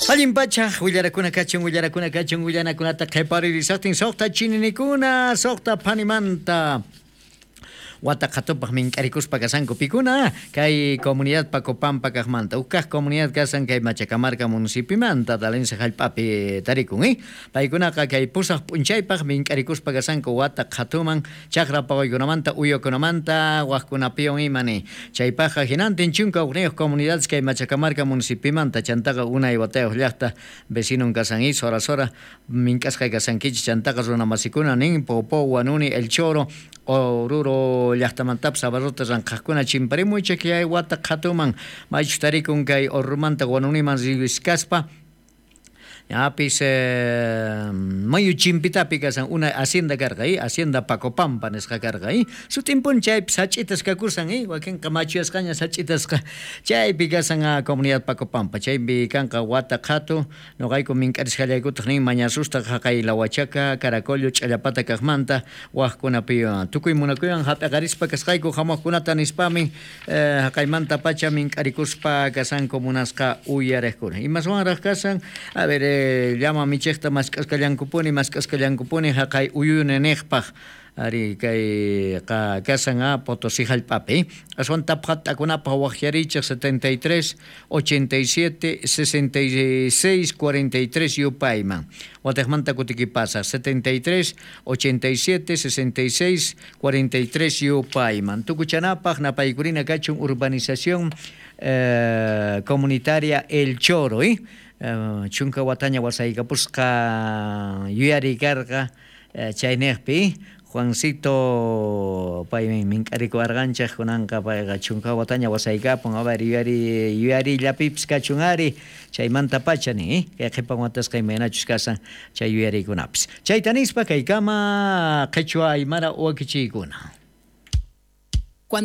Allin pacha, willarakuna kachun, willarakuna kachun, willanakunata qheparirisaqtin suqta chininikuna, suqta phanimanta. Wata qhatupaq mink'arikuspa kasanku pikuna kay comunidad Pacopampa kaqmanta huk kaq comunidad kasan kay Machacamarca municipimanta Talense hallp'api tarikun paykunaqa kay pusaq p'unchaypaq mink'arikuspa kasanku wata qhatuman chaqra paqaykunamanta uywakunamanta waqkunapiwan ima ni chaypaqqa hinantin 11 comunidades kay Machacamarca municipimanta chantaqa unay watayuq llaqta vecinon kasan sora sora mink'asqa kasankichis chantaqa runamasikuna nin Popo Huanuni El Choro Oruro llaqtamantapas abarrota ranqhaqkuna chimparimuychik chay wata qhatuman maychus tarikun kay Orurumanta Huanuniman riskaspa ñapis mayu chimpitapi kasan una hacienda karqa hacienda Pacopampa nisqa karqa sutinpuni chaypi sach'itas kakusan wakinqa machuyasqaña sach'itasqa chaypi kasan comunidad Pacopampa chaypi kanqa wata qhatu noqayku mink'arisqallaykutaq nin mañasusta haqay Lahuachaca Caracollo Ch'allapata kaqmanta waqkunapi tukuy munakuywan hap'iqarispa kasqayku hamuqkunata nispamin haqaymanta pacha mink'arikuspa kasanku munasqa uyariqkuna imaswanraq kasan a ver llama michiqta mask'asqallankupuni haqay uyuni niqpaq ari kay kasan Potosí hallp'api aswan tapqat'akunapaq waqyarichik 73 87 66 43 yupayman watiqmanta kutikipasaq 73 87 66 43 yupayman tukuchanapaq napaykurina kachun urbanización comunitaria El Choro chunka wataña wasaykapusqa yuyari karqa chayniqpi Juancito paymi mink'arikuwarqanchik kunanqa payqa chunka wataña wasaykapun a ver yuyarillapipis kachun ari chaymanta pacha nin kay qhipan watasqa imaynachus kasan chay yuyarikunapis chayta nispa kaykama qhichwa aymara wakichiykuna. Cuando